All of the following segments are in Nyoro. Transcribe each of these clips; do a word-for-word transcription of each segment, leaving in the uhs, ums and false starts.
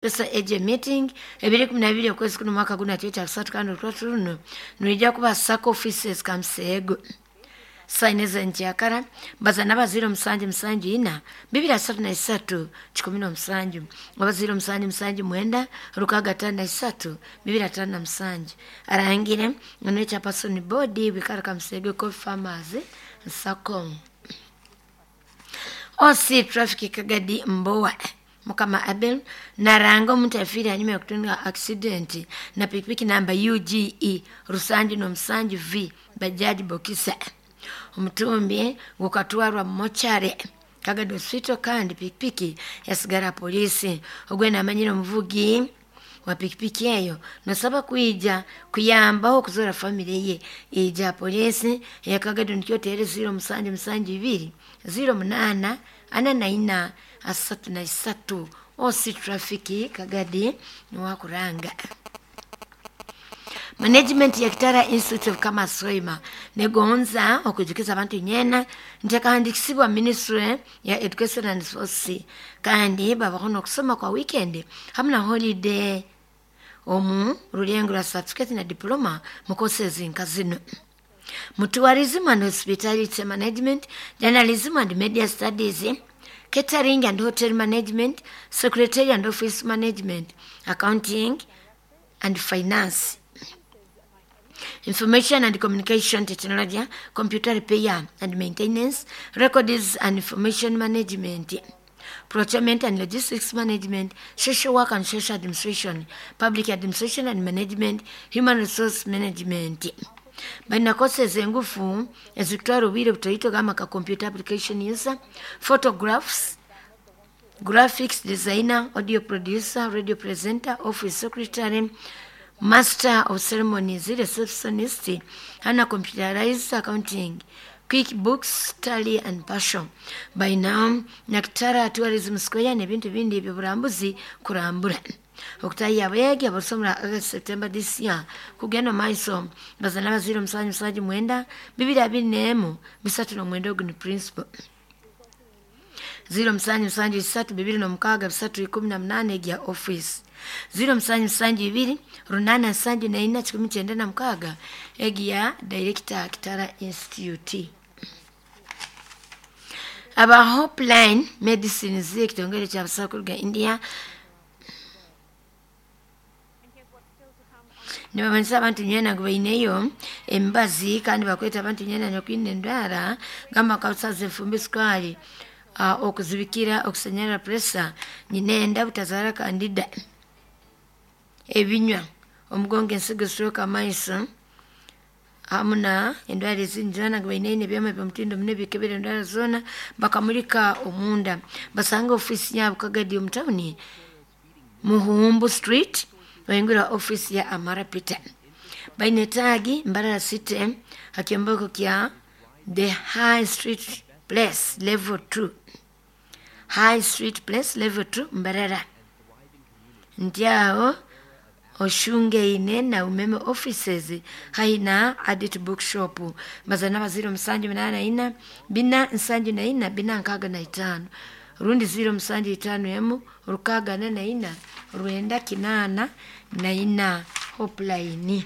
Pesa eje meeting ebiri kumi na bibiri okwezi kuno mwaka guno ati kusatu kandi olutatu runo nirwijja kuba sacco offices Kamuseego saine zenkyakara baza n'abaziro musanju musanju ina bibiri asatu na isatu kikumi n'omusanju abaziro musanju musanju mwenda rukaga tano na isatu bibiri atano na musanju arangire ono chairperson board bikara Kamuseego Coffee Farmers Sacco O C Traffic Kagadi Mbowa Mukama Abel naranga omuntu afiire hanyuma yokutunga accident na pikipiki namba U G E rusanju n'omusanju V Bajaji Bokisa. Omutumbi gukatwarwa mochare Kagadi Hospital kandi pikipiki yasigara polisi. Ogwe namanyire omuvugi wa pikipiki eyo nosaba kwija kuyambaho okuzora famire ye ija polisi ya Kagadi nikyo tere ziro musanju musanju ibiri ziro munana ana na ina asatu na isatu. O C Traffic Kagadi niwakuranga. Management ya Kitara Institute of Commerce Hoima negonza okujukiza abantu nyena nti ministry ya Education and Sports kandi babaho n'okusoma kwa weekend hamwe na holiday omu rulengo rwa certificate na diploma mu courses nka zino: mu tourism and hospitality management, journalism and media studies, catering and hotel management, secretary and office management, accounting and finance, information and communication technology, computer repair and maintenance, records and information management, procurement and logistics management, social work and social administration, public administration and management, human resource management. Balina courses engufu ezikutwara obwire butoito gamba ka computer application user, photographs, graphics designer, audio producer, radio presenter, office secretary, master of ceremonies, receptionist, hana computerized accounting, QuickBooks, Tally and Passion. By now Nakitara Tourism Square n'ebintu bindi ebyoburambuzi kurambura okutayiya abayagi abasomera August, September this year kugenda maiso bazana baziro musanju musanju mwenda bibiri abiri n'emu bisatu n'omwenda. Ogu ni principal. Ziro musanju musanju isatu bibiri n'omukaaga bisatu ikumi na munaana egya office. Ziro musanju musanju ibiri runana nsanju na ina kikumi kyenda na mukaaga egya director Kitara Institute. Aba Hopeline Medicines ekitongole kyabasawo kuruga India nibamanyisa abantu nywena ngu baineyo emibazi kandi bakweta abantu nywena nyokwine endwara gamba kabusaza enfumbi sukali uh, okuzibikira okusanyara pressure nyinenda butazara candida ebinywa omugongo ensigo stroke amaiso hamu na endwara ezindi zoona ngu baineyo ebyoma byomutindo muno ebikebera endwara zoona bakamulika omunda. Basanga ofiisi yabo Kagadi omu tawuni Muhumbu Street bayingura office ya Amara Peter. Baine tagi Mbarara City hakyombeko kya the High Street Place level two, High Street Place level two Mbarara nti aho oshungeine na Umeme offices haina Adit Bookshop. Bazana baziro musanju munana ina bina nsanju na ina bina nkaga na itano rundi ziro musanju itano emu rukaga na na ina rwenda kinana na ina Hopeline.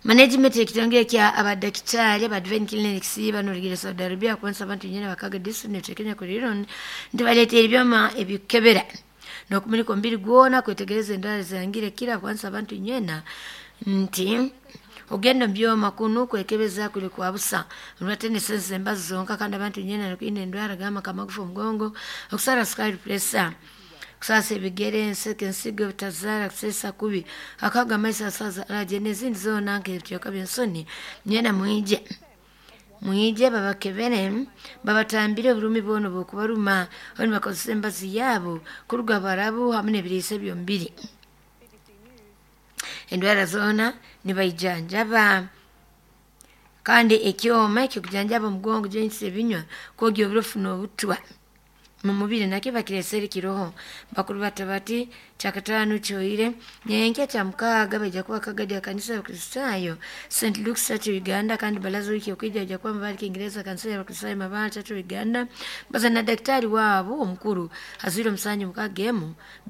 Management ekitongole kya abadakitari aba Divine Clinics banorigire Saudi Arabia kwansa abantu nyene bakaga district Kenya kuliro nti baleetera ebyoma ebikebera n'okumulika omubiri gwona kwetegereza endwara zangire kira kwansa abantu nywena nti ogenda omubyoma kunu kwekebeza kuli kwa busa nolwate sense embazi zonka kandi abantu nywena nokwine endwara gamba kamagufa omugongo okusara sukali pressure kusasa ebigere enseke ensigo butazaara kusesa kubi akaga amaiso asaza alaje n'ezindi zoona nk'ebicweka by'ensoni nywena mwije mwije babakebere babatambire oburumi bwona obwokubaruma oni bakozesa embazi yaabo kuruga barabu hamu n'ebiriisa byomubiri endwara zoona nibaijanjaba kandi ekyoma ekyokujanjaba omugongo joints ebinywa kwogya oburofu n'obutwa Mu mubiri nakyo bakiresere kiroho. Bakuru bata bati kyakataano kyoire, nyenkya kya mukaaga baija kuba kagadi ya kanisa y'Abakristaayo Saint Luke's Church Uganda, kandi balaza wiki okwija baija kuba Mabale Kiingereza, kanisa y'Abakristaayo Mabale Church Uganda, baza na daktari waabo omukuru azwire omusanju mukaaga emu.